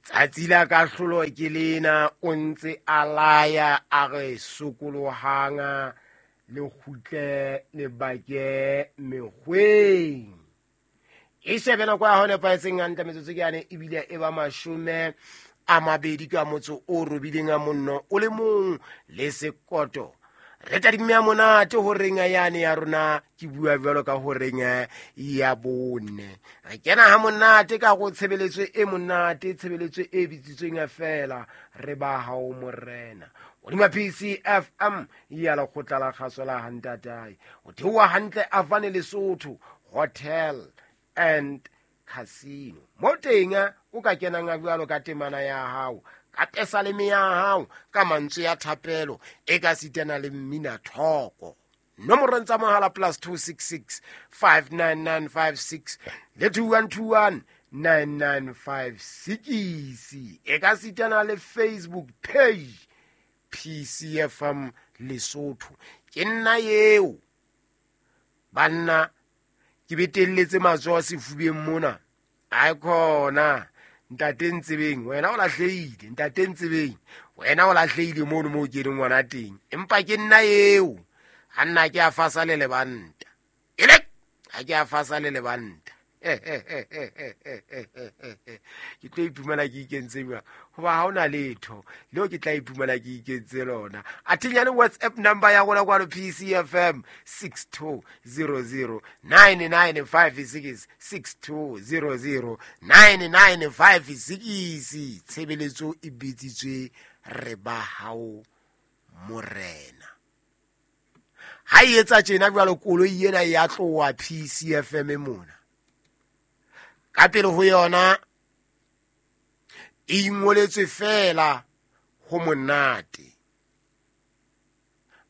Tsatsi la kahlolo ke lena, o ntse a laya a re sokolohang le kgutle le bake mekgweng. E shebe nako ya hao nepahetseng hantle metsotso ke yane ebile e ba 20 ka motso o robileng a monno o le mong le sekoto. Re tadimme ya monate horeng yane ya rona, ke bua jwalo ka horeng ya 4. Re kena ha monate ka go tshebeletso e monate, tshebeletso e bitsitsweng feela re ba hao morena. Hodima PCFM ya lekgotla la kgaso la Hantatae. O theoha hantle Avane Lesotho Hotel and Casino. Mo teng o ka kenang a jwalo ka temana ya hao, ka pesaleme ya hao, ka mantswe ya thapelo, e ka sitana le mmina thoko. Nomorong tsa mohala +266 59956 le 2121 9956. E ka sitana le Facebook page PCFM Lesotho. Ke nna eo banna, ke betelletse matsoho sefubeng mona. Ai khona ntate Ntsebeng, wena o lahlehile, ntate Ntsebeng, wena o lahlehile mono moo ke leng ngwana teng. Empa ke nna eo, ha nna ke a fasa le lebanta. Ele, ha ke a fasa le lebanta. Ke tlo iphumana ke ikentse jwang? Hoba ha hona letho leo ke tla iphumana ke ikentse lona. Athinyane WhatsApp number ya rona kwano PCFM 6200 9956, 6200 9956. Tshebeletso e bitsitswe re ba hao morena. Ha e etsa tjena jwalo, koloi ena ya tloha PCFM mona. Ka pele ho yona e ingoletswe fela ho monate.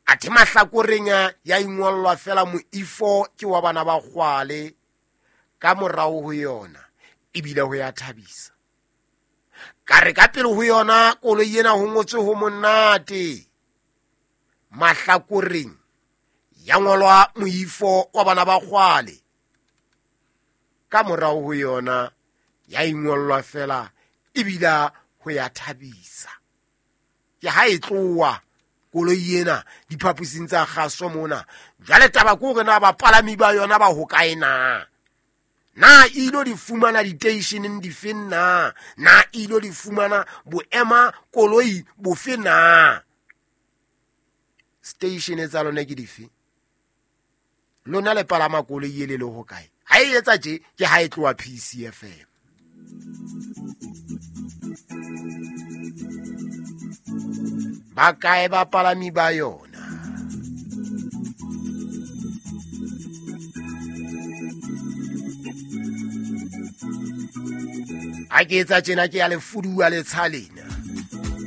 Athe mahlakoreng ya ingolwa fela moifo ke wa bana ba kgwale, ka morao ho yona ebile ho ya thabisa. Ka re ka pele ho yona koloi ena ho ngotswe ho monate, mahlakoreng ya ngolwa moifo wa bana ba kgwale, ka morao ho yona ya ingolwa fela ebile ho ya thabisa. Ke ha e tloha koloi ena diphaposing tsa kgaso mona. Jwale taba ke hore na bapalami ba yona ba hokae na? Na e ilo di fumana diteisheneng dife na? Na e ilo di fumana boema koloi bofe na? Station tsa lona ke dife? Lona le palama koloi e le le hokae? Ha e etsa tje, ke ha e tloha PCFM. Ba kae bapalami ba yona? Ha ke etsa tjena ke ya le fuduwa letsha lena.